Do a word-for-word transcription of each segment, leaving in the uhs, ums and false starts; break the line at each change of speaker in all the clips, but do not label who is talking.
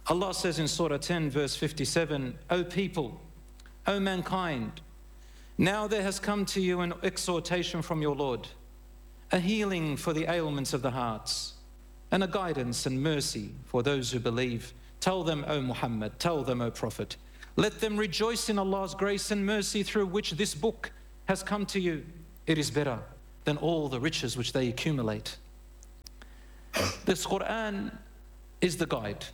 Allah says in Surah ten, verse fifty-seven, O people, O mankind, now there has come to you an exhortation from your Lord, a healing for the ailments of the hearts, and a guidance and mercy for those who believe. Tell them, O Muhammad, tell them, O Prophet, let them rejoice in Allah's grace and mercy through which this book has come to you. It is better than all the riches which they accumulate. This Quran is the guide.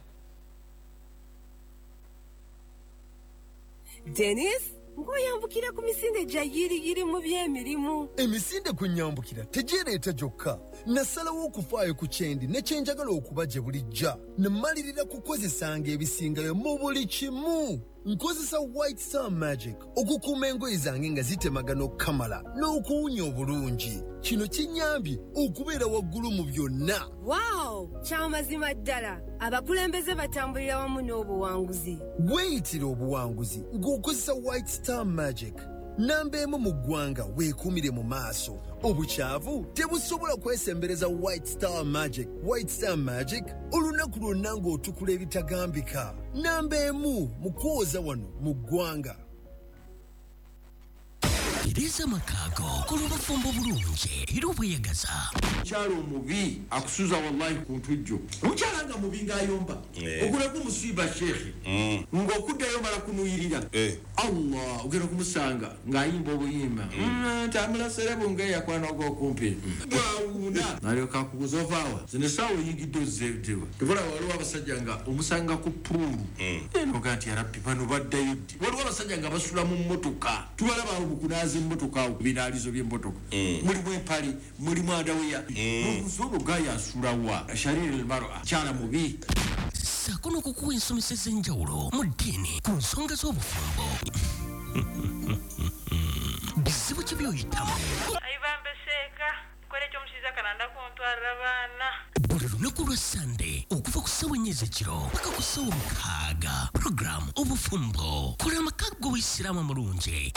Dennis, ngoyambukira ku misinde gya yiriyiri mu by'emirimu.
Emisinde kunyambukira tegireeta gyokka. Nasalawo okufaayo ku kyendi ne kye njagala okuba gye bulijja. Ne mmalirira kukozesanga ebisingayo mu buli kimu. Nkozesa White Star Magic okukuuma engoye zange nga zitemagana okukamala n'okuwunya obulungi. Kino kinnyambye okubeera waggulu mu byonna.
Wow! Kyamazima ddala. Abakulembeze batambulira wamu n'obuwanguzi.
Weeyitira obuwanguzi ng'okozesa White Star Magic. Namba emu mu ggwanga weekuumire mu maaso. Obukyavu tebusobola kwesembereza White Star Magic. White Star Magic olunaku lwonna ng'otukula ebitagambika. Namba emu mu kwoza wano mu ggwanga.
Tereza amaka kola obufumbo bulungi era obweyagaza.
Omukyala omubi akusuza wallahi ku ntujjo. Omukyala nga mubi ng'ayomba. Ogulako omusiiba sheekhe. Ng'okuddayo mala kunuyirira. Allah ogenda kumusanga ng'ayimba obuyimba. Ntambula serebu ng'eyakwana ogw'okumpi. Bwawuna. Nalyoka akubuuza ovaawa. Zino essaawa oyingidde ozzeewa. Tebula waliwo abasajja nga omusanga ku puulu. Eno ga nti yarabbi bano baddayo ddi. Waliwo abasajja nga basula mu mmotoka. Tubalaba awo mu kunaaza emmotoka awo ku binaalizo by'emmotoka. Mulimu empale, mulimu adaweya. N'omusono gaya asula wa. Shariri al-mar'a. Kyala mubi.
Ssaako n'okukuwa ensomesa ez'enjawulo mu ddiini ku nsonga z'obufumbo. Bizibu ki by'oyitamu?
Ayibambe seeka, nkola ekyomushiza kalanda kuntwalira abaana.
Buli lunaku lwa Sande okuva ku ssaawa ennya ez'ekiro paka ku ssaawa mukaaga. Puroguramu Obufumbo. Kola amaka g'Obuyisiraamu amulungi.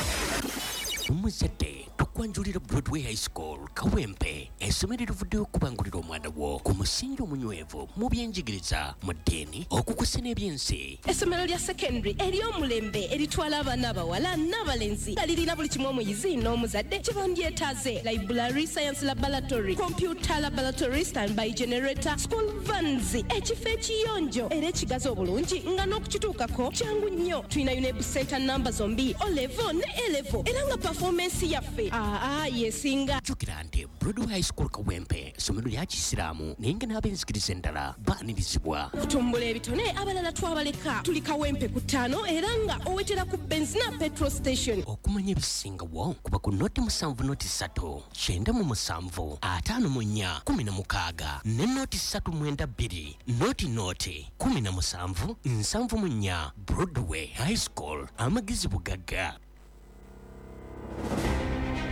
Omuzadde tukwanjulira Broadway High School Kawempe, essomero erivuddeyo okubangulira omwana wo ku musingi omunywevu mu byenjigiriza, mu ddiini, okukusa n'ebyensi.
Essomero lya secondary ery'omulembe eritwala abaana abawala n'abalenzi nga lirina buli kimu omuyizi n'omuzadde kye bandyetaaze: library, science laboratory, computer laboratory, standby generator, school vans, ekifo ekiyonjo era ekigazi obulungi nga n'okukituukako kyangu nnyo. Tulina UNEB center namba zombi, O level ne A level, era nga performance yaffe aa yesinga.
Jjukira nti Broadway High School Kawempe ssomero lya Kisiraamu naye nga n'ab'enzikiriza endala baanirizibwa.
Okutumbula ebitone abalala twabaleka. Tuli Kawempe ku ttaano era nga owetera ku Benzina petrol station.
Okumanya ebisingawo kuba ku noti musanvu noti ssatu kyenda mu musanvu ataano mu nnya kumi na mukaaga ne noti ssatu mwenda bbiri noti noti kumi na musanvu nsanvu mu nnya. Broadway High School, amagezi bugagga.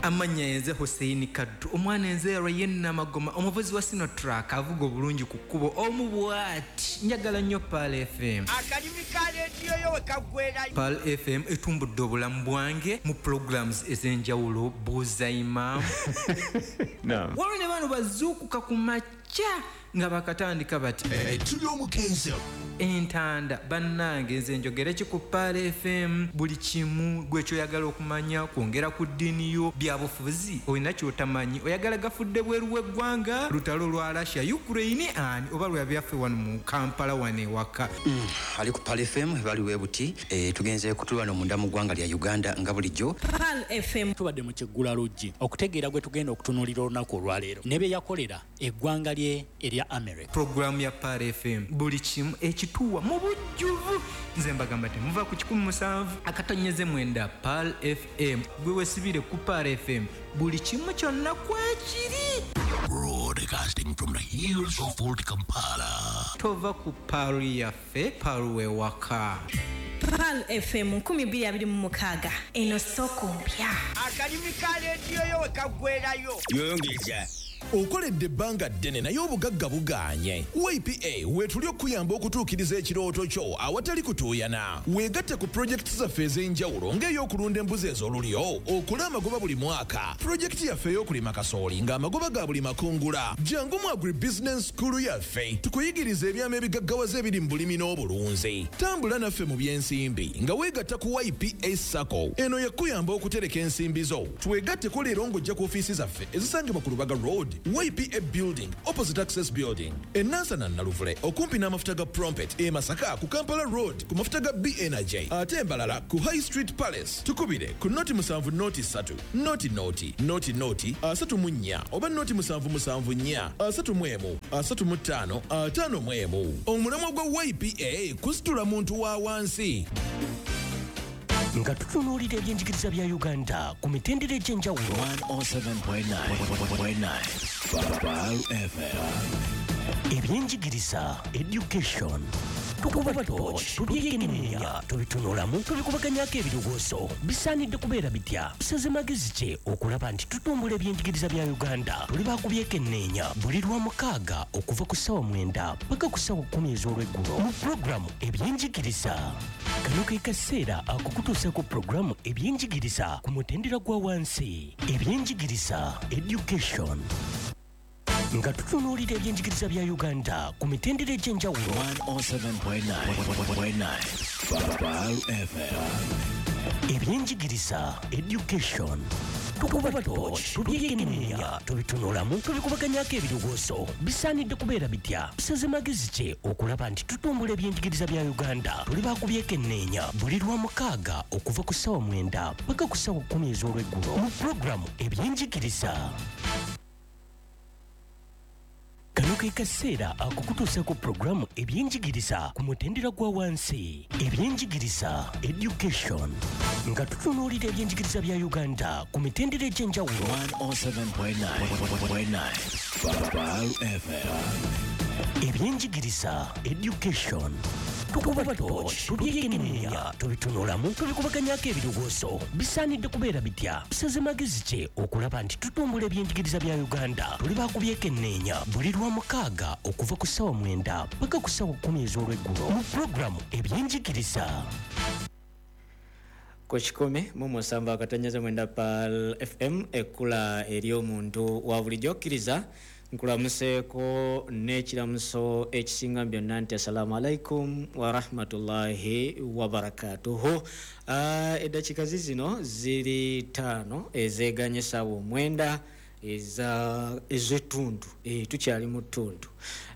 Amannya yenze Hussein Kaddu, omwana enze Rayen Magoma, omuvuzi wa Sinotruck avuga obulungi ku kkubo omu bw'ati. Njagala nnyo Pearl F M.
Akalimi ka leediyo yo we kaggwerayo.
Pearl F M etumbudde obulamu bwange mu programs ez'enjawulo, buuza imam. Waliwo ne bano bazuukuka ku makya nga bakatandika bati
tuli omukenzo
entanda. Bannange nze njogere ki ku Pearl F M? Buli kimu gwe kyoyagala okumanya, kwongera ku ddiini yo, byabufuzi olina kyotamanyi, oyagala gafudde bweru w'eggwanga, lutalo lwa Russia Ukraine ani oba lwa byaffe wano mu Kampala wano ewaka.
Mm, ali ku Pearl F M bali webuti e, tugenze kutulwana munda mu ggwanga lya Uganda nga bulijjo.
Pearl F M
tubadde mu kyeggula luggi okutegeera gwe tugenda okutunuulira olunaku olwaleero ne bye yakolera eggwanga lye erya America.
Programu ya Pearl F M buli kimu ekituwa mu bujjuvu. Nze mbagamba temuva ku kikumi musanvu akatonyeze mwenda. Pearl F M gwe wesibire ku Pearl F M buli kimu kyonna kwekiri.
Broadcasting from the hills of Old Kampala.
Tova ku Pearl yaffe, Pearl wewaka.
Pearl F M nkumi bbiri abiri mu mukaaga. Eno soko mpya.
Akalimi ka leediyo yo we kaggwerayo.
Yongeza. Okoledde ebbanga ddene naye obugagga bugaanye. Y P A weetuli okuyamba okutuukiriza ekirooto kyo awatali kutuuyana. Weegatte ku pulojekiti zaffe ez'enjawulo ng'ey'okulunda embuzi ez'olulyo, okola amagoba buli mwaka. Pulojekiti yaffe ey'okulima kasooli ng'amagoba ga buli makungula. Jangu mu Agribusiness School yaffe tukuyigiriza ebyama ebigaggawaza ebiri mu bulimi n'obulunzi. Tambula naffe mu by'ensimbi nga weegatta ku Y P A SACCO. Eno yakuyamba okutereka ensimbi zo. Twegatteko leero ng'ojja ku ofiisi zaffe ezisangibwa ku Lubaga Road, Y P A Building, opposite Access Building, e Nansana Naluvule, okumpi n'amafuta ga Prompet, e Masaka ku Kampala Road ku mafuta ga B N J, ate Mbalala ku High Street Palace. Tukubire ku noti musanvu noti ssatu, noti noti, noti noti, asatu mu nnya, oba noti musanvu musanvu nnya, asatu mu emu, asatu mu ttaano, ataano mu emu. Omulamwa gwa Y P A kusitula muntu wa wansi.
Nga tutunuulira ebyenjigiriza bya Uganda ku mitendera egy'enjawulo.
one oh seven point nine F M.
Ebyenjigiriza, education. Tukuba torch, tubyekenneenya, tubitunulamu, tubikubaganyako ebirowoozo. Bisaanidde kubeera bitya? Tusaze magezi ki okulaba nti tutumbula ebyenjigiriza bya Uganda? Tuli bakubyekenneenya buli lwa mukaaga okuva ku ssaawa mwenda paka ku ssaawa kkumi ez'olweggulo mu pulogulaamu Ebyenjigiriza. Kano ke kaseera akukutuusa ku pulogulaamu Ebyenjigiriza ku mutendera gwa wansi. Ebyenjigiriza, education. Nga tutunuulira ebyenjigiriza bya Uganda ku mitendera egy'enjawulo.
one oh seven point nine F M.
Ebyenjigiriza, education. Tukuba torch, tubyekenneenya, tubitunulamu, tubikubaganyako ebirowoozo. Bisaanidde kubeera bitya? Tusaze magezi ki okulaba nti tutumbula ebyenjigiriza bya Uganda? Tuli bakubyekenneenya buli lwa mukaaga okuva ku ssaawa mwenda paka ku ssaawa kkumi ez'olweggulo mu pulogulaamu Ebyenjigiriza. Kano ke kaseera akukutuusa ku pulogulaamu Ebyenjigiriza ku mutendera gwa wansi. Ebyenjigiriza, education. Nga tutunuulira ebyenjigiriza bya Uganda ku mitendera egy'enjawulo.
one oh seven point nine F M.
Ebyenjigiriza, education. Tukuba torch, tubyekenneenya, tubitunulamu, tubikubaganyako ebirowoozo. Bisaanidde kubeera bitya? Tusaze magezi ki okulaba nti tutumbula ebyenjigiriza bya Uganda? Tuli bakubyekenneenya buli lwa mukaaga okuva ku ssaawa mwenda paka ku ssaawa kkumi ez'olweggulo mu pulogulaamu Ebyenjigiriza.
Ku kikumi mu musanvu akatonnyeze mwenda Pearl F M, ekkula ery'omuntu wa bulijjo. Kkiriza nkulamuseeko n'ekiramuso ekisinga byonna nti assalamu alaikum wa rahmatullahi wa barakatuhu. Uh, eddakiika zino ziri ttaano ezeeganye essaawa omwenda ez'ettundu, e, tukyali mu ttundu.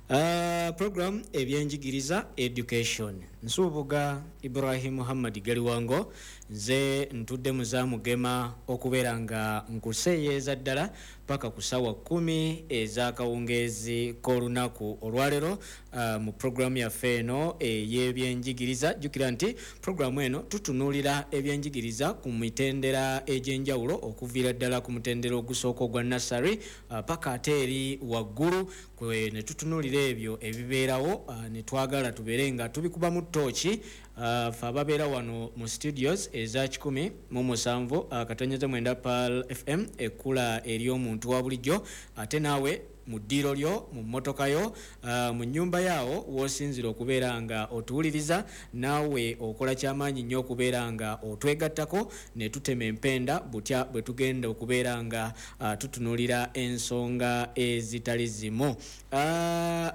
Uh, program Ebyenjigiriza, education. Nsubuga Ibrahim Muhammad Galiwango, nze ntudde muzamugema okubeera nga nkuseeyeeza ddala paka ku ssaawa kkumi ez'akawungeezi k'olunaku olwaleero uh, mu pulogulaamu yaffe eno ey'ebyenjigiriza. Jjukira nti pulogulaamu eno tutunuulira ebyenjigiriza ku mitendera egy'enjawulo okuviira ddala ku mutendera ogusooka ogwa nursery uh, paka ate eri waggulu kwe ne tutunuulira ebyo ebibeerawo uh, ne twagala tubeere nga tubikubamu ttooki. Uh, fe ababeera wano mu studios eza kikumi mu musanvu uh, katonyeze mwenda Pearl F M, ekkula ery'omuntu wa bulijjo. Ate naawe mu ddiiro lyo, mu mmotoka yo, uh, mu nnyumba yaawo w'osinzira okubeera nga otuwuliriza, naawe okola kyamaanyi nnyo okubeera nga otwegattako ne tutema empenda butya bwe tugenda okubeera nga uh, tutunuulira ensonga ezitali zimu. Uh,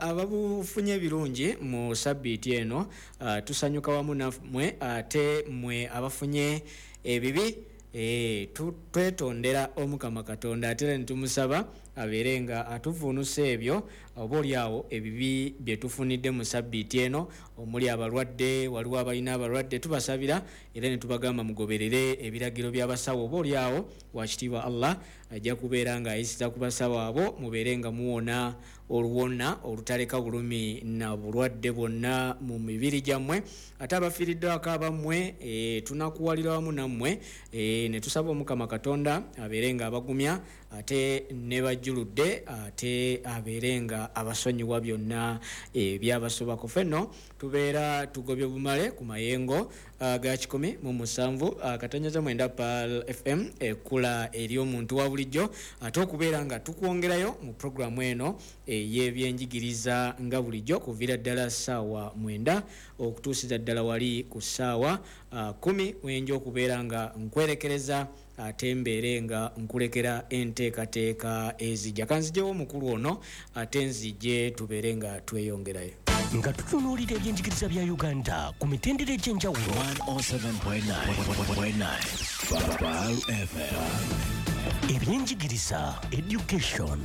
ababufunye ebirungi mu sabbiiti eno uh, tusanyuka wamu nammwe, ate mmwe abafunye ebibi e, twetondera Omukama Katonda, ate era ne tumusaba abeere nga atuvuunusa ebyo oba oliawo ebibi bye tufunidde mu sabbiiti eno, omuli abalwadde, waliwo abalina abalwadde tubasabira era ne tubagamba mugoberere ebiragiro by'abasawo, oba oliawo wakitiibwa Allah ajja kubeera ng'ayisiza ku basawo abo mubeere nga muwona oluwona olutaleka bulumi na bulwadde bwonna mu mibiri gyammwe. Ate abafiiriddwako abammwe e, tunakuwalira wamu nammwe e, ne tusaba Omukama Katonda abeere nga abagumya ate ne bajjuludde ate abeere nga nga abasonyiwa byonna ebyabasobako. Fenno tubeera tugobye bumale ku mayengo ga kikumi mu musanvu katonnyeza mwenda Pearl F M ekula eri omuntu wa bulijjo, ate okubeera nga tukwongerayo mu programu eno ey'ebyenjigiriza nga bulijjo kuviira ddala ssaawa mwenda okutuusiza ddala wali ku ssaawa kumi wenja okubeera nga nkwerekereza ate mbeere nga nkulekera enteekateeka ezijja. Kanzijewo omukulu ono ate nzije tubeere nga tweyongerayo.
Nga tutunuulira ebyenjigiriza bya Uganda ku mitendera egy'enjawulo. Ebyenjigiriza, education,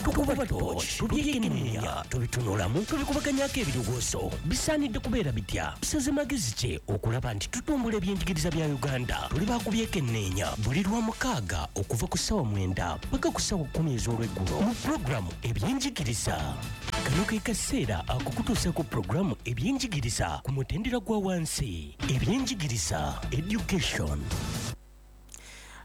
tukuba torch, tubyekenneenya, tubitunulamu, tubikubaganyako ebirowoozo. Bisaanidde kubeera bitya? Tusaze magezi ki okulaba nti tutumbula ebyenjigiriza bya Uganda? Tuli bakubyekenneenya buli lwa mukaaga okuva ku ssaawa mwenda paka ku ssaawa kkumi ez'olweggulo mu pulogulaamu ebyenjigiriza. Kano ke kaseera akukutuusa ku pulogulaamu ebyenjigiriza ku mutendera gwa wansi. Ebyenjigiriza, education.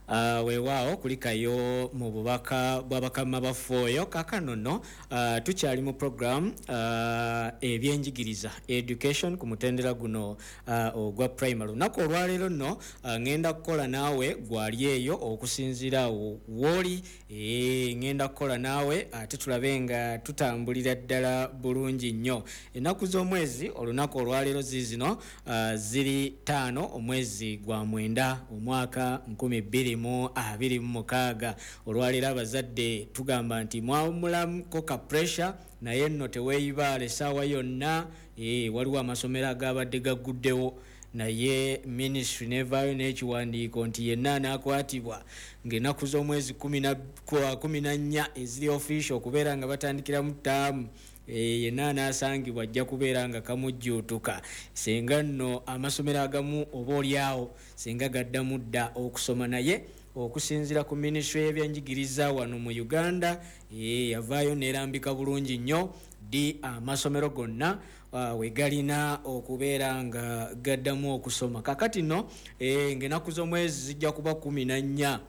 Uh, weewaawo kulikayo mu bubaka bw'abakama baffe oyo. Kaakano nno uh, tukyali mu program uh, ebyenjigiriza education ku mutendera guno uh, ogwa primary. Olunaku olwaleero nno uh, ŋŋenda kukola naawe gwali eyo okusinziira awo w'oli, e, ŋŋenda kukola naawe ate tulabe nga tutambulira ddala bulungi nnyo. Ennaku z'omwezi olunaku olwaleero ziizino uh, ziri ttaano omwezi gwa mwenda omwaka nkumi bbiri mu abiri mu mukaaga. Olwaleero abazadde tugamba nti mwawummulamuko ka pressure, naye nno teweeyibaala essaawa yonna. E, waliwo amasomero agabadde gagguddewo naye ministry nevaayo n'ekiwandiiko nti yenna anaakwatibwa ng'ennaku z'omwezi kumi na nnya eziri official okubeera nga batandikiramu ttaamu, e, yenna anaasangibwa ajja kubeera nga kamujjuutuka. Singa nno amasomero agamu oba oliawo singa gaddamu dda okusoma, naye okusinziira ku ministry y'ebyenjigiriza wano mu Uganda e, yavaayo n'erambika bulungi nnyo ddi amasomero gonna uh, we galina okubeera nga gaddamu okusoma. Kakati nno e, ng'ennaku z'omwezi zijja kuba kumi na nnya,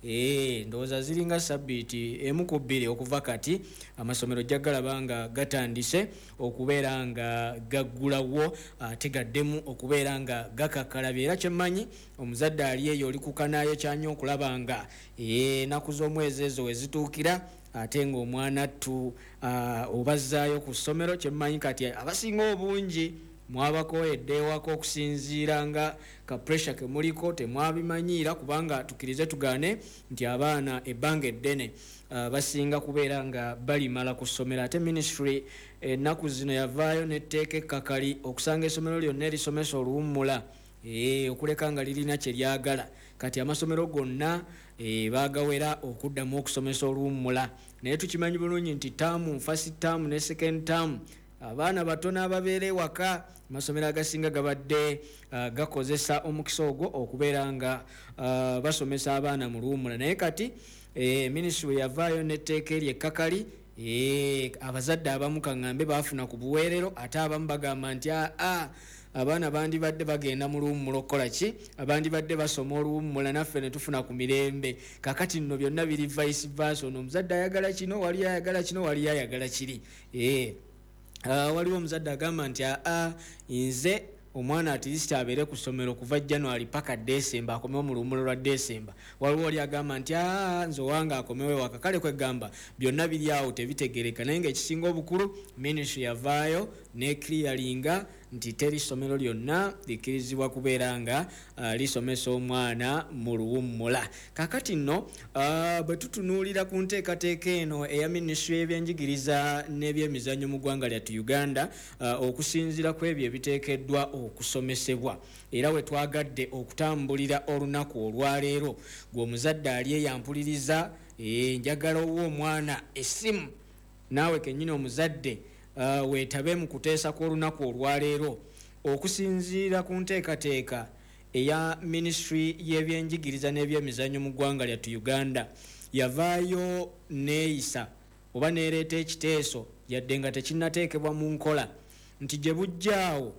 Eh, ndowooza ziringa sabbiiti emu ku bbiri okuva kati amasomero ojja galaba nga gatandise okubeera nga gaggulawo ate gaddemu okubeera nga gakakkalabye. Era kyemmanyi omuzadde ali eyo oli kukanaayo kyanyo okulaba nga ennaku z'omwezi ezo we zituukira ate ng'omwana ttu uh, obazzaayo ku ssomero. Kyemmanyi kati abasinga obungi mwabakoyedde ewaka okusinziira nga ka pressure ke muliko temwabimanyiira, kubanga tukkirize tugaane nti abaana ebbanga eddene uh, basinga kubeera nga balimala ku ssomero. Ate ministry ennaku zino yavaayo n'etteeka ekkakali okusanga essomero lyonna erisomesa oluwummula e, okuleka nga lirina kye lyagala. Kati amasomero gonna e, baagawera okuddamu okusomesa oluwummula, naye tukimanyi bulungi nti taamu first term ne second term abaana batono ababeera ewaka. Amasomero agasinga gabadde uh, gakozesa omukisa ogwo okubeera nga uh, basomesa abaana mu luwummula. Naye kati e, ministry yavaayo n'etteeka eryo ekkakali. E, abazadde abamu kaŋŋambe baafuna ku buweerero, ate abamu bagamba nti aa abaana bandibadde bagenda mu luwummula okukola ki, abandibadde basoma oluwummula naffe ne tufuna ku mirembe. Kakati nno byonna biri vice versa, ono omuzadde ayagala kino, wali ayagala kino, wali ayagala kiri. E, Uh, waliwo omuzadde agamba nti aa nze omwana at least abeere ku ssomero kuva January paka December akomewo mu luwummula lwa December. Waliwo oli agamba nti aa nze owange akomewo ewaka. Kale kwegamba byonna biri awo tebitegereka, naye ng'ekisinga obukulu ministry yavaayo ne clearinga nti teri ssomero lyonna likkirizibwa kubeera nga uh, lisomesa omwana mu luwummula. Kakati nno uh, bwe tutunuulira ku nteekateeka eno eya ministry y'ebyenjigiriza n'ebyemizannyo mu ggwanga lyattu Uganda, uh, okusinziira ku ebyo ebiteekeddwa okusomesebwa, era we twagadde okutambulira olunaku olwaleero, gwe omuzadde ali eyampuliriza, e, njagala owa omwana essimu, naawe kennyini omuzadde Uh, weetabe mu kuteesa kw'olunaku olwaleero okusinziira ku nteekateeka eya ministry y'ebyenjigiriza n'ebyemizannyo mu ggwanga lyattu Uganda. Yavaayo neeyisa oba neereeta ekiteeso yadde nga tekinnateekebwa mu nkola nti gye bujjaawo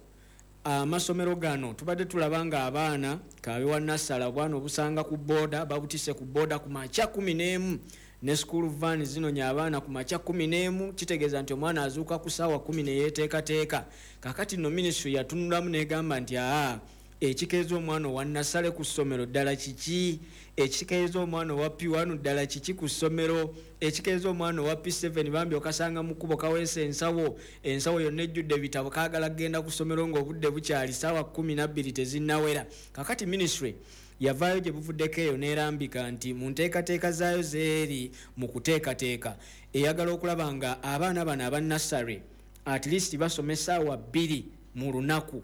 amasomero gano tubadde tulaba nga abaana kabe wa nassala obwana obusanga ku booda babutise ku booda ku makya kumi n'emu Ne school van zinonya abaana ku makya kumi n'emu, kitegeeza nti omwana azuuka ku ssaawa kumi ne yeeteekateeka. Kaakati nno minisitule yatunulamu n'egamba nti aa, ekikeeza omwana owa nursery ku ssomero ddala kiki? Ekikeeza omwana owa P one ddala kiki ku ssomero? Ekikeeza omwana owa P seven bambi okasanga mu kkubo kaweesa ensawo, ensawo yonna ejjudde ebitabo, kaagala kugenda ku ssomero ng'obudde bukyali ssaawa kkumi na bbiri tezinnawera. Kaakati minisitule yavaayo gye buvuddeko eyo n'erambika nti mu nteekateeka zaayo zeeri mu kuteekateeka eyagala okulaba nga abaana bano aba nursery at least basoma essaawa bbiri mu lunaku.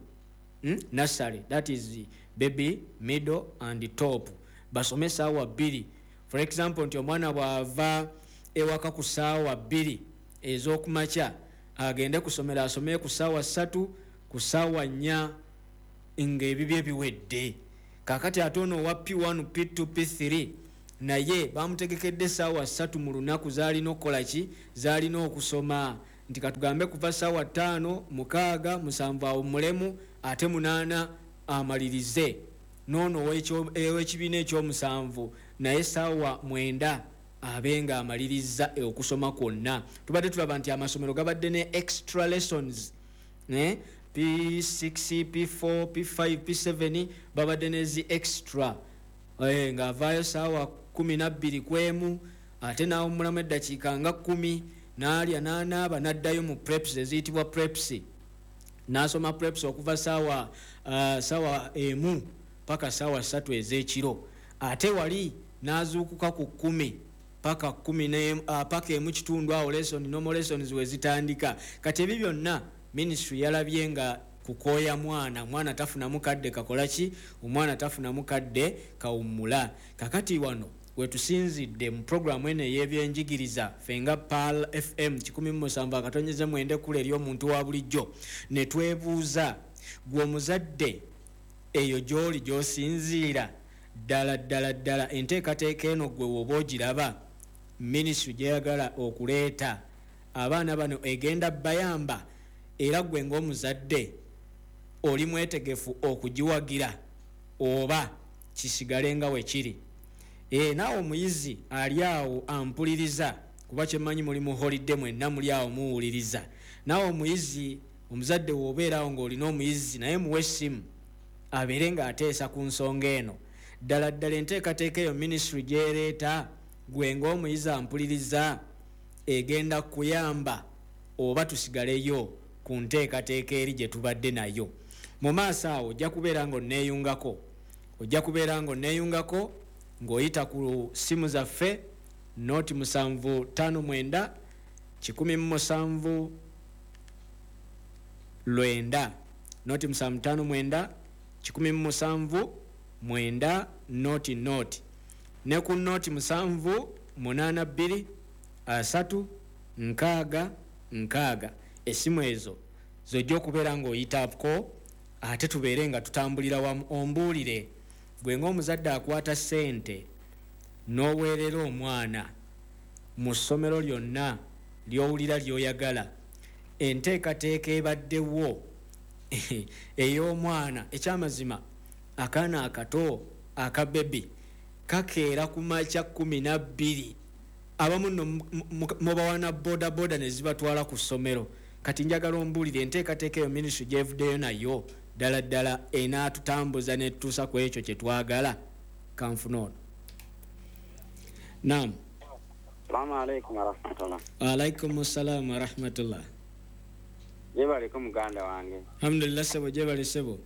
Hmm? Nursery, that is baby, middle and top, basome essaawa bbiri. For example, nti omwana bw'ava ewaka ku ssaawa bbiri ez'okumakya agende kusomera asome ku ssaawa ssatu ku ssaawa nnya ng'ebibye biwedde. Kaakati ate ono owa P one, P two, P three naye bamutegekedde essaawa ssatu mu lunaku z'alina okukola ki? Z'alina okusoma. Nti katugambe kuva ssaawa ttaano, mukaaga, musanvu awummulemu, ate munaana amalirize. N'ono ow'ekibiina ekyomusanvu naye essaawa mwenda abe nga amalirizza okusoma kwonna. Tubadde tulaba nti amasomero gabadde ne extra lessons, ne P six, P four, P five, P seven babadde ne zi extra, eh, ng'avaayo ssaawa kkumi na bbiri ku emu ate n'awummulamu eddakiika nga kkumi n'alya n'anaaba n'addayo mu preps eziyitibwa preps, n'asoma preps okuva ssaawa uh, ssaawa emu paka ssaawa ssatu ez'ekiro, ate wali n'azuukuka ku kkumi paka kkumi n'emu uh, paka emu kitundu awo lesson normal lessons we zitandika. Kati ebyo byonna minisitule yalabye nga kukooya mwana, mwana tafunamu kadde kakola ki? Omwana tafunamu kadde kawummula. Kakati wano wetusinzidde mu programu eno ey'ebyenjigiriza ffe nga Pearl F M kikumi mu musanvu akatonyeze mwenda ekkula ery'omuntu wa bulijjo, ne twebuuza gwe omuzadde eyo gy'oli gy'osinziira ddala ddala ddala enteekateeka eno gwe woba ogiraba minisitule gy'eyagala okuleeta abaana bano egenda bayamba, era gwe ng'omuzadde oli mwetegefu okugiwagira oba kisigale nga we kiri? E, naawe omuyizi ali awo ampuliriza, kuba kyemmanyi muli mu holiday mwenna muli awo muwuliriza. Naawe omuyizi omuzadde w'obeera awo ng'olina omuyizi naye muwe essimu abeere ng'ateesa ku nsonga eno. Ddala ddala enteekateeka eyo minisitule gy'ereeta gwe ng'omuyizi ampuliriza egenda kuyamba oba tusigaleyo ku nteekateeka eri gye tubadde nayo? Mu maaso awo ojja kubeera ng'onneeyungako, ojja kubeera ng'onneeyungako ng'oyita ku ssimu zaffe noti musanvu ttaano mwenda kikumi mu musanvu lwenda, noti musanvu ttaano mwenda kikumi mu musanvu mwenda noti noti, ne ku noti musanvu munaana bbiri asatu nkaaga nkaaga. Essimu ezo z'ojja okubeera ng'oyitako ate tubeere nga tutambulira wamu. Ombuulire gwe ng'omuzadde akwata ssente n'oweerera omwana mu ssomero lyonna ly'owulira ly'oyagala, enteekateeka ebaddewo ey'omwana, ekyamazima akaana akato akabebi kakeera ku makya kkumi na bbiri, abamu nno mubawana boda boda ne zibatwala ku ssomero. Kati njagala ombuulire enteekateeka eyo minisitule gy'evuddeyo nayo ddala ddala enaatutambuza n'etutuusa ku ekyo kye twagala? Kanfuna ono. Naam.
Salaamu alaikum warahmatullah.
Waalaikum salaam warahmatullah.
Gyebaleko muganda wange.
Alhamdulillah ssebo, gyebale ssebo.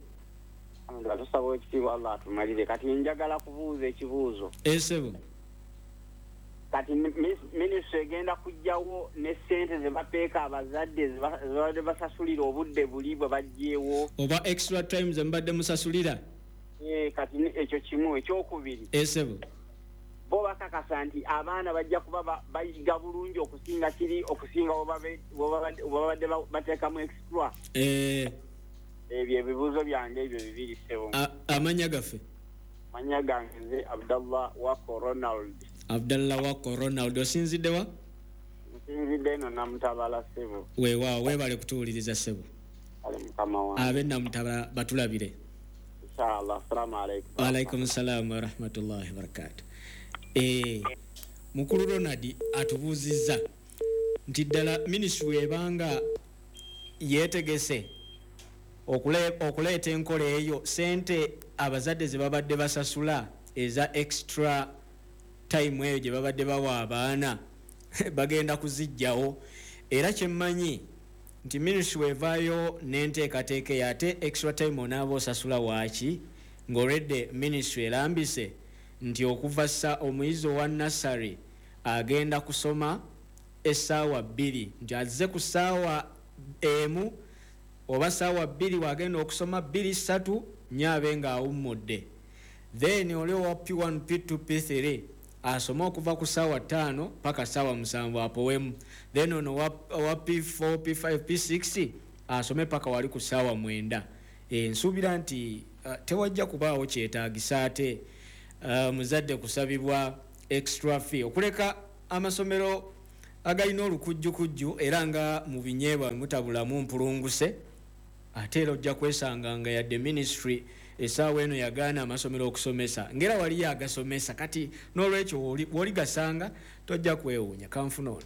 Alhamdulillah, tusaba ekitiibwa Allah atumalire. Kati njagala kubuuza ekibuuzo.
Eh ssebo.
Kati minisitule egenda kuggyawo ne ssente ze bapeeka abazadde ze babadde basasulira obudde buli bwe baggyewo,
oba extra time ze mbadde musasulira?
Eh, kati ekyo kimu. Ekyokubiri,
eh ssebo,
bo bakakasa nti abaana bajja kuba bayiga bulungi okusinga kiri okusinga bwe babadde bateekamu extra.
Eh,
ebyo ebibuuzo byange ebyo bibiri ssebo.
Amannya gaffe?
Amannya gange nze Abdallah Wako Ronald.
Abdallah Wako Ronald, osinzidde wa?
Nsinzidde eno Namutabala ssebo.
Weewaawo, weebale kutuwuliriza ssebo.
Ale mukama wange.
Abe Namutabala batulabire.
Inshallah. Assalamu alaikum.
Wa alaikum salam wa rahmatullahi wa barakatuh. Eh, Mukulu Ronald atubuuzizza nti ddala minisitule ebanga yeetegese okuleeta enkola eyo, sente abazadde ze babadde basasula eza extra time eyo gye babadde bawa abaana bagenda kuziggyawo. Era kyemmanyi nti minisitule evaayo n'enteekateeka eyo, ate extra time onaaba osasula waaki ng'olwedde minisitule erambise nti okuva ssa omuyizi owa nursery agenda kusoma essaawa bbiri, nti azze ku ssaawa emu oba ssaawa bbiri wagenda okusoma bbiri ssatu nnya abe ng'awummudde. Then oli owa P one, P two, P three asome okuva ku ssaawa ttaano paka ssaawa musanvu apowemu. Then ono owa P four, P five, P six asome paka wali ku ssaawa mwenda. E, nsuubira nti uh, tewajja kubaawo kyetaagisa ate uh, muzadde kusabibwa extra fee okuleka amasomero agalina olukujjukujju era nga mu binyeebwa mutabulamu mpulunguse. Ate era ojja kwesanga nga yadde ministry essaawa eno yagaana amasomero okusomesa ngera waliyo agasomesa, kati n'olwekyo w'oli gasanga tojja kwewuunya. Kanfuna ono.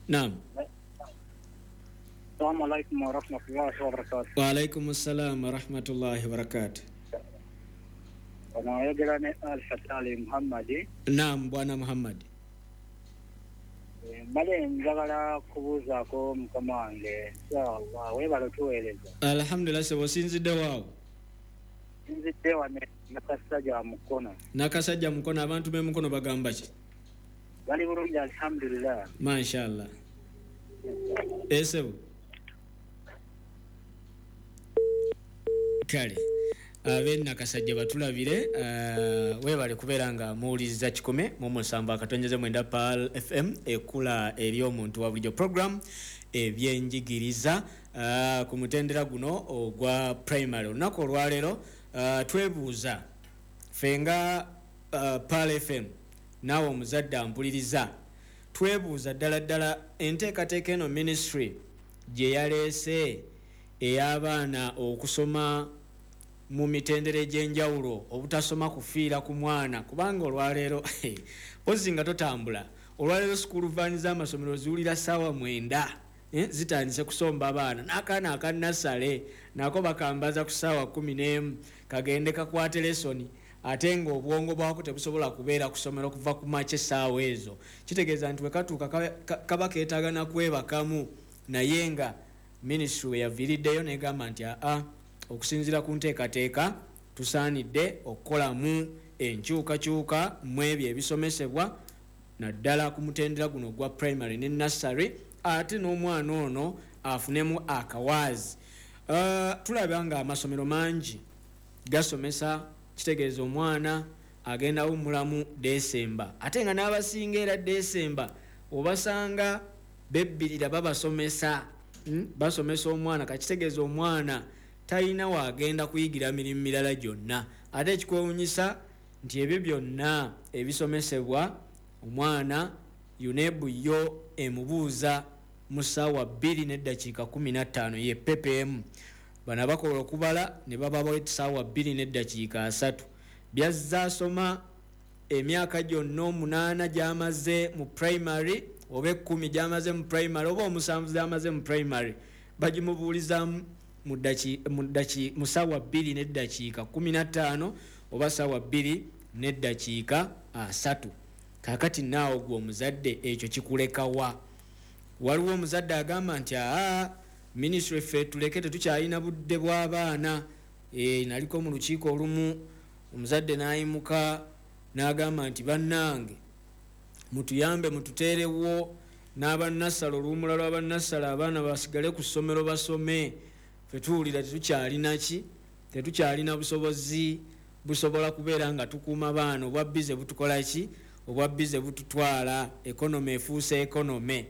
Naam.
Assalamu alaikum wa rahmatullahi wa barakatuh.
Wa alaikum assalam wa rahmatullahi wa barakatuh.
Wanayogera ne Al-Fatali Muhammadi.
Naam, Bwana Muhammadi.
Mbale njagala kubuuzaako mukama wange. Inshallah weebale otuweereza.
Alhamdulillah, sebo osinzidde waawo?
Nsinzidde wano Nakasajja Mukono.
Nakasajja Mukono, abantu b'e Mukono bagamba ki?
Bali bulungi alhamdulillah.
Mashallah. Esebo. Kale ab'e Nakasajja batulabire, uh, weebale kubeera nga muwuliriza kikumi mu musanvu akatonyeze mwenda Pearl F M ekula eri omuntu wa bulijjo, program ebyenjigiriza uh, ku mutendera guno ogwa primary. Olunaku olwaleero uh, twebuuza ffe nga uh, Pearl F M naawe omuzadde ampuliriza, twebuuza ddala ddala enteekateeka eno ministry gye yaleese ey'abaana okusoma mu mitendera egy'enjawulo, obutasoma kufiira ku mwana, kubanga olwaleero ozzi nga totambula. Olwaleero sukulu vaani z'amasomero ziwulira ssaawa mwenda, eh, zitandise kusomba abaana, n'akaana akannasale nako bakambaza ku ssaawa kkumi n'emu kagende kakwate lesoni, ate ng'obwongo bwako tebusobola kubeera ku ssomero kuva ku makya essaawa ezo. Kitegeeza nti we katuuka kaba keetaaga na kwebakamu, naye nga minisitule we yaviiriddeyo n'egamba nti aa, okusinziira ku nteekateeka tusaanidde okukolamu enkyukakyuka mu ebyo ebisomesebwa naddala ku mutendera guno ogwa primary ne nursery, ate n'omwana ono afunemu akawaazi. Uh, tulaba nga amasomero mangi gasomesa, kitegeeza omwana agenda awummulamu Desemba, ate nga n'abasinga era Desemba obasanga bebbirira babasomesa, mm? basomesa omwana, kakitegeeza omwana talina waagenda kuyigira mirimu mirala gyonna. Ate ekikwewuunyisa nti ebyo byonna ebisomesebwa omwana UNEB yo emubuuza mu ssaawa bbiri n'eddakiika kkumi na ttaano ye P P M. Bano abakola okubala ne babawa essaawa bbiri n'eddakiika asatu. Byazze asoma emyaka gyonna omunaana gy'amaze mu primary oba ekkumi gy'amaze mu primary oba omusanvu gy'amaze mu primary bagimubuulizaamu mu ssaawa bbiri n'eddakiika kkumi na ttaano oba ssaawa bbiri n'eddakiika asatu. Kaakati naawe gwe omuzadde ekyo kikulekawa? Waliwo omuzadde agamba nti aa, minisitule ffe tuleke tetukyalina budde bw'abaana. E, naliko mu lukiiko olumu omuzadde n'ayimuka n'agamba nti bannange mutuyambe mututeerewo n'abannassala oluwummula lw'abannassala abaana basigale ku ssomero basome, ffe tuwulira tetukyalina ki, tetukyalina busobozi busobola kubeera nga tukuuma baana, obwa bize butukola ki, obwa bize bututwala, ekonome efuuse ekonome.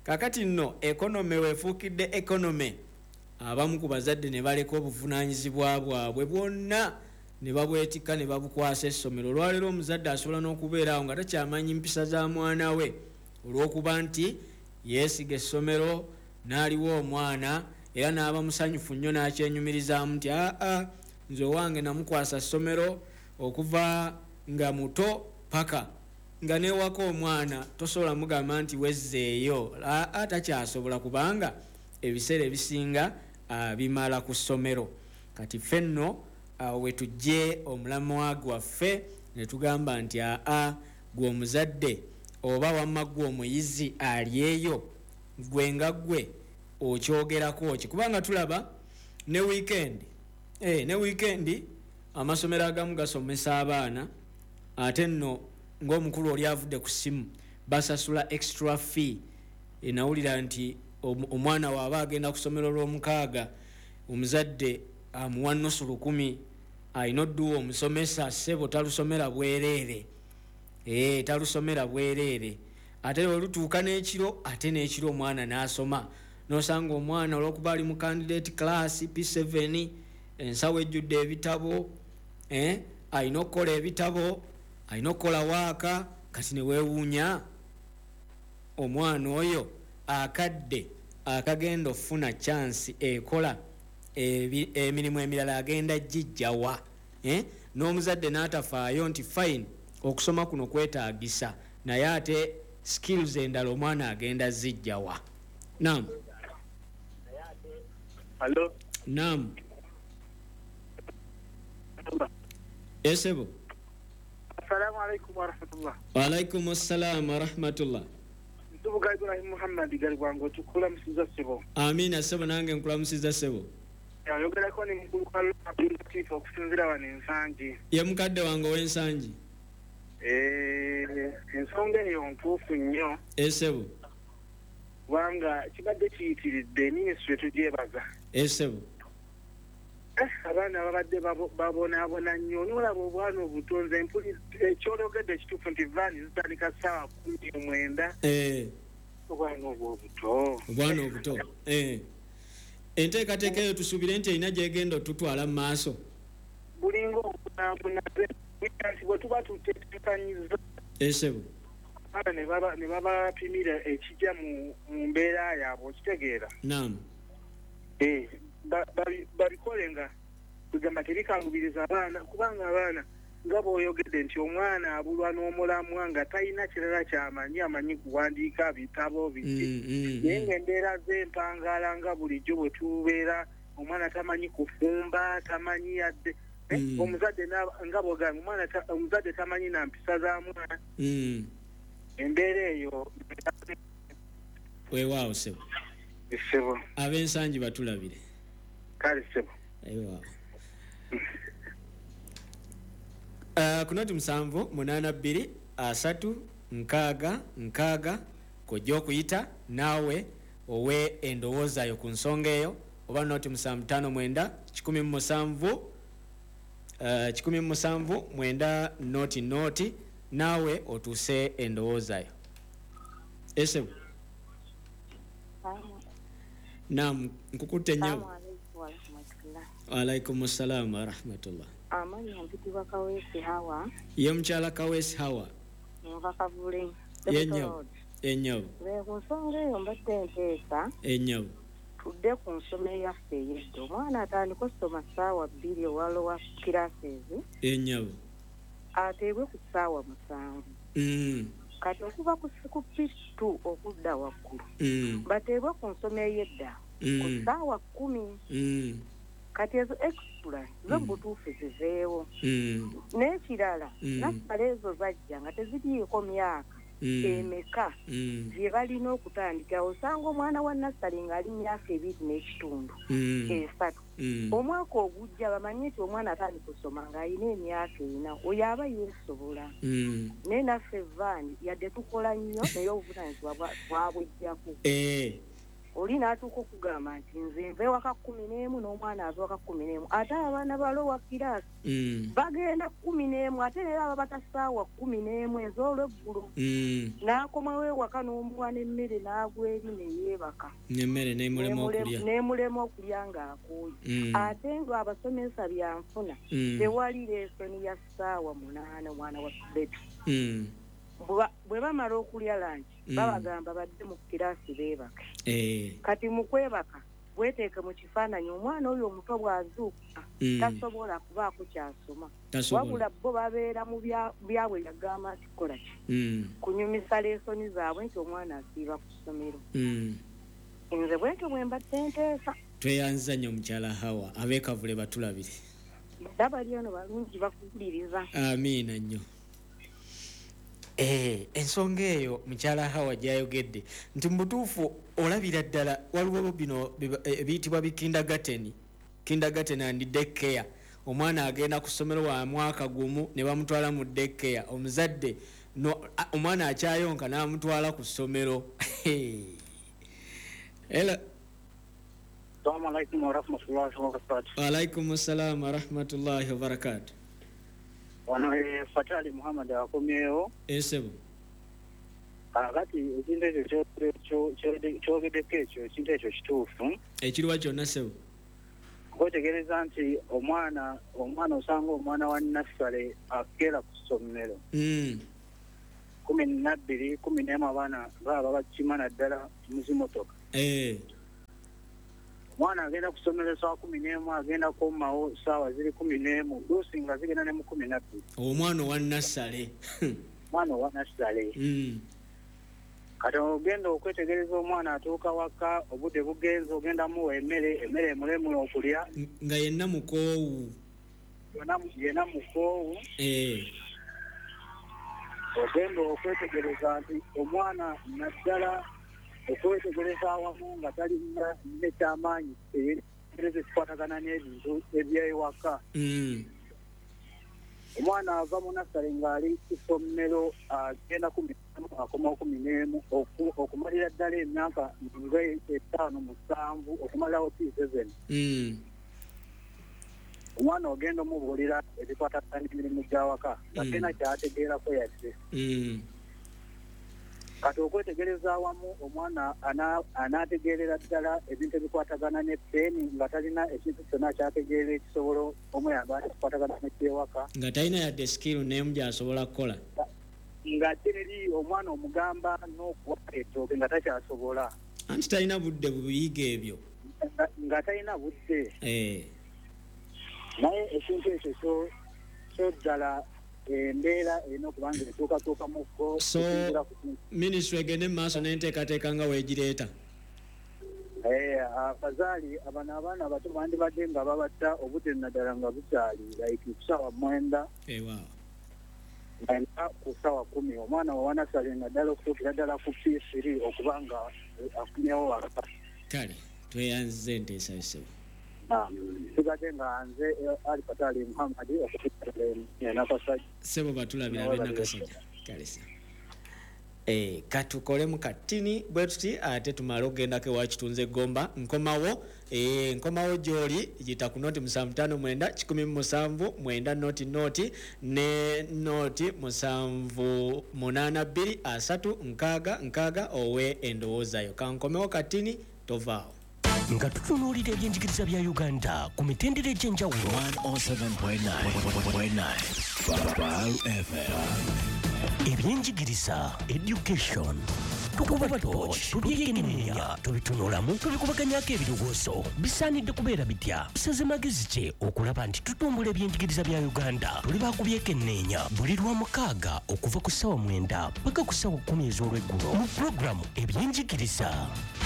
Kaakati nno ekonome weefuukidde ekonome, abamu ku bazadde ne baleka obuvunaanyizibwa bwabwe bwonna ne babwetikka ne babukwasa essomero. Olwaleero omuzadde asobola n'okubeera awo nga takyamanyi mpisa za mwana we olw'okuba nti yeesiga essomero n'aliwo omwana era n'aba musanyufu nnyo n'akyenyumirizaamu nti aa, nze owange namukwasa ssomero okuva nga muto paka Nga newaka omwana tosobola mugamba nti wezzeeyo, atakyasobola kubanga ebiseera ebisinga bimala ku ssomero. Kati ffe nno we tujje omulamwa gwaffe ne tugamba nti aa gwe omuzadde oba wamma gwe omuyizi ali eyo gwe nga gwe okyogerako ki, kubanga tulaba ne weekend eh, ne weekend amasomero agamu gasomesa abaana ate nno ng'omukulu oli avudde ku ssimu basasula extra fee. Enawulira nti omwana waaba agenda ku ssomero lw'omukaaga omuzadde amuwa nusu lukumi, alina odduwa omusomesa ssebo talusomera bwereere, eh, talusomera bwereere. Ate olutuuka n'ekiro ate n'ekiro omwana n'asoma, n'osanga omwana olw'okuba ali mu candidate class P seven, ensawo ejjudde ebitabo, eh, alina okukola ebitabo, alina okukola waaka. Kati ne weewuunya omwana oyo akadde akagenda ofuna chance ekola emirimu emirala agenda gijjawa, eh? N'omuzadde n'atafaayo nti fine okusoma kuno kwetaagisa, naye ate skills endala omwana agenda zijjawa. Naam.
Hello.
Naam. Esebo.
Assalamu alaikum wa rahmatullah.
Wa alaikum assalam wa rahmatullah.
Nsubuga Ibrahim Muhammad Galiwango tukulamusiza sebo.
Amina sebo, nange nkulamusiza sebo.
Ayogerako ni mukulu Abdul Latif okusinziira wano Ensangi.
Ye mukadde wange ow'Ensangi.
Eh, ensonga eyo ntuufu nnyo.
Esebo.
Kubanga kibadde kiyitiridde minisitule tugyebaza.
Esebo.
Abaana babadde babonaabona nnyo, n'olaba obwana obuto. Nze mpuli ekyologedde ekituufu nti vaani zitandika ssaawa kkumi omwenda.
Eh.
Obwana obwo obuto.
Obwana obuto. Eh. Enteekateeka eyo tusuubire nti erina gy'egenda otutwala mu maaso.
Bulinga obunaabuna nti bwe tuba tuteteekanyiza.
Esebo.
Abaana ne babapimira ekijja mu mbeera yaabwe, okitegeera.
Naam.
Eh, babikole nga kugamba terikangubiriza abaana, kubanga abaana nga bw'oyogedde nti omwana abulwa n'omulamwa nga talina kirala ky'amanyi, amanyi kuwandiika bitabo biki, naye ng'embeera z'empangaala nga bulijjo bwe tubeera omwana tamanyi kufumba, tamanyi yadde omuzadde nga bw'ogamba omwana omuzadde tamanyi na mpisa za mwana. Embeera eyo
weewaawo ssebo.
Ssebo.
Ab'Ensangi batulabire.
Kale ssebo.
Weewaawo. Uh, kunoti musanvu munaana bbiri asatu nkaaga nkaaga kojja okuyita naawe owe endowooza yo ku nsonga eyo, oba noti musanvu ttaano mwenda kikumi mu musanvu uh, kikumi mu musanvu mwenda noti noti naawe otuuse endowooza yo. Esebo. Naam, nkukutte nnyo. Wa salaam wa rahmatullah.
Amannya mpitibwa Kaweesi Hawa.
Ye mukyala Kaweesi Hawa.
Nva Kavule.
Ye nnyo. Ennyo.
Ku nsonga eyo mbadde nteesa.
Ennyo.
Tudde ku nsoma eyaffe ey'edda. Omwana atandika okusoma ssaawa bbiri owa lower classes.
Ennyo.
Ateebwe ku ssaawa musanvu.
Mm.
Kati okuva ku P two okudda waggulu.
Mm.
Bateebwe ku nsoma ey'edda.
Mm.
Ku ssaawa kkumi.
Mm.
Kati ezo extra zo butuufu ziveewo.
Mm.
N'ekirala
mm.
nassale ezo zajja nga teziriiko myaka
mm.
emeka
mm.
gye balina okutandika. Osanga omwana wa nassale ng'ali myaka ebiri n'ekitundu
mm.
esatu.
Mm.
Omwaka ogujja bamanye nti omwana atandika okusoma ng'alina emyaka ena, oyo aba yeesobola.
Mm.
Naye naffe vaani yadde tukola nnyo naye obuvunaanyizibwa bwabwejjako.
Eh.
Oli n'atuuka okugamba nti nze nva ewaka kkumi n'emu n'omwana ava ewaka kkumi n'emu, ate abaana ba lower class
mm.
bagenda kkumi n'emu, ate leero ababata ssaawa kkumi n'emu ez'olweggulo.
Mm.
N'akomawo ewaka n'omuwa n'emmere n'agwa eri ne yeebaka.
N'emmere n'emulema okulya.
N'emulema okulya ng'akooye.
Mm.
Ate ng'abasomesa byanfuna
mm.
tewali leesoni ya ssaawa munaana omwana wa bebi.
Mm.
Bwe bamala okulya lunch
mm.
babagamba badde mu kiraasi beebake.
Eh.
Kati mu kwebaka Weteeke mu kifaananyi omwana oyo omuto bw'azuukuka
Mm.
tasobola kubaako kyasoma.
Tasobola.
Wabula bo babeera mu bya- byabwe yagamba nti kola ki
Mm.
kunyumisa leesoni zaabwe nti omwana asiiba ku ssomero.
Mm.
Nze bwentyo bwe mbadde nteesa.
Tweyanza nnyo mukyala Hawa, ab'ekavule batulabire.
Bali eno balungi bakuwuliriza.
Amiina nnyo. Eh, ensonga eyo mukyala Hawa gy'ayogedde nti mu butuufu olabira ddala waliwo bino biba- eh, ebiyitibwa bi kindergarten, kindergarten and daycare. Omwana agenda ku ssomero wa mwaka gumu ne bamutwala mu daycare, omuzadde no, a- omwana akyayonka n'amutwala ku ssomero. Hello.
Assalamu alaikum warahmatullahi wabarakatuh.
Alaikum salam warahmatullahi wabarakatuh.
Wano ye Fatali Muhammad akomyewo.
Esebo.
Kakati ekintu ekyo kyo- kyo- kyo- kyogeddeko ekyo ekintu ekyo kituufu.
Ekiriwa kyonna sebo.
Okwetegereza nti omwana omwana osanga omwana wa nassale akeera ku ssomero
Mm.
kumi nabbiri kumi n'emu abaana baaba bakima naddala mu zimotoka.
Eh.
Omwana agenda ku ssomero ssaawa kumi n'emu agenda komawo ssaawa ziri kumi n'emu luusi nga zigenda ne mu kumi nabbiri.
Omwana owa nassale.
Omwana owa nassale.
Mm.
Kati ogenda okwetegereza omwana atuuka waka obudde bugenze ogenda muwa emmere emmere emulemula okulya
nga yenna mukoowu.
Yonna yenna mukoowu.
Eh.
Ogenda okwetegereza nti omwana naddala okwetegereza awamu nga talina nekyamaanyi eyegereza ekikwatagana n'ebintu ebyewaka.
Mm.
Omwana ava mu nassale ng'ali ku ssomero agenda kumi n'emu akomawo kumi n'emu oku- okumalira ddala emyaka nga etaano musanvu okumalirawo P seven.
Mm.
Omwana ogenda omubuulira ebikwatagana n'emirimu gy'awaka nga
Mm.
talina kyategeerako yadde.
Mm.
Kati okwetegereza awamu omwana ana- anaategeerera ddala ebintu ebikwatagana ne peeni nga talina ekintu kyonna kyategeera ekisobola omuyamba ekikwatagana n'ekyewaka.
Nga talina yadde skill n'emu gy'asobola kukola.
Nga teri omwana omugamba n'okuwa ettooke nga takyasobola.
Anti talina budde bubiyiga ebyo.
Nga- nga talina budde.
Eh.
Naye ekintu ekyo kyo kyo ddala embeera erina okuba nga ekyukatuukamuko.
So ministry egende mu maaso n'enteekateeka nga weegireeta.
Eh, abazaali abano abaana abato bandibadde nga babatta obudde naddala nga bukyali like ku ssaawa mwenda
Ewaawo.
mwenda ku ssaawa kumi omwana wawanasale naddala okutuukira ddala ku P three okuba nga afunyewo waka.
Kale tweyanziza enteesa yo ssebo.
Sigadde nga nze Ali Fatali Muhammad okutuukira Nakasajja.
Ssebo batulabira ab'e Nakasajja. Kale ssebo. Eh, katukolemu katini bwe tuti ate tumale okugendako ewa Kitunze Gomba. Nkomawo eh, nkomawo gy'oli yita ku noti musanvu ttaano mwenda kikumi mu musanvu mwenda noti noti ne noti musanvu munaana bbiri asatu nkaaga nkaaga owe endowoozayo. Kankomewo katini tovaawo.
Nga tutunuulira ebyenjigiriza bya Uganda ku mitendera egy'enjawulo.
one oh seven point nine Pearl F M.
Ebyenjigiriza education tukuba torch tubyekenneenya tubitunulamu tubikubaganyako ebirowoozo bisaanidde kubeera bitya tusaze magezi ki okulaba nti tutumbula ebyenjigiriza bya Uganda. Tuli bakubyekenneenya buli lwa mukaaga okuva ku ssaawa mwenda paka ku ssaawa kkumi ez'olweggulo mu pulogulaamu ebyenjigiriza.